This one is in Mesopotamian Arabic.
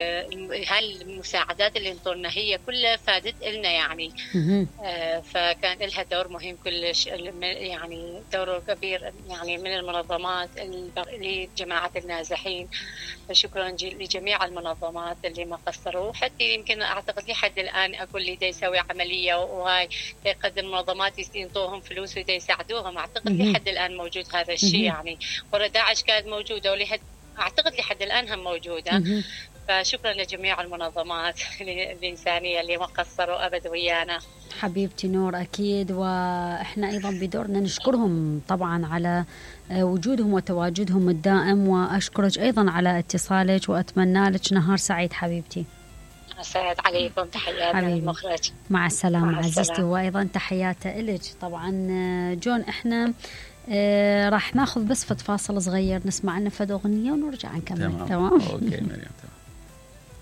هاي المساعدات اللي انطونا هي كلها فادت لنا يعني. فكان لها دور مهم كلش، يعني دور كبير يعني من المنظمات لجماعة النازحين. فشكرا لجميع المنظمات اللي ما قصروا، حتى يمكن اعتقد لحد الان اقول لي دا يسوي عمليه وهاي يقدم منظمات ينطوهم فلوس ودا يساعدوهم، اعتقد لحد الان موجود هذا الشيء يعني. ورا داعش كانت موجوده اعتقد لحد الان هم موجوده. فشكرا لجميع المنظمات الإنسانية اللي ما قصروا أبد ويانا. حبيبتي نور، أكيد، وإحنا أيضا بدورنا نشكرهم طبعا على وجودهم وتواجدهم الدائم، وأشكرك أيضا على اتصالك وأتمنى لك نهار سعيد حبيبتي. سعيد عليكم، تحيات من المخرج. مع السلامة عزيزتي، وأيضا تحياتي إلك. طبعا جون إحنا راح ناخذ بس فاصل صغير نسمع لنا فد أغنية ونرجع نكمل. تمام. أوكي مريم.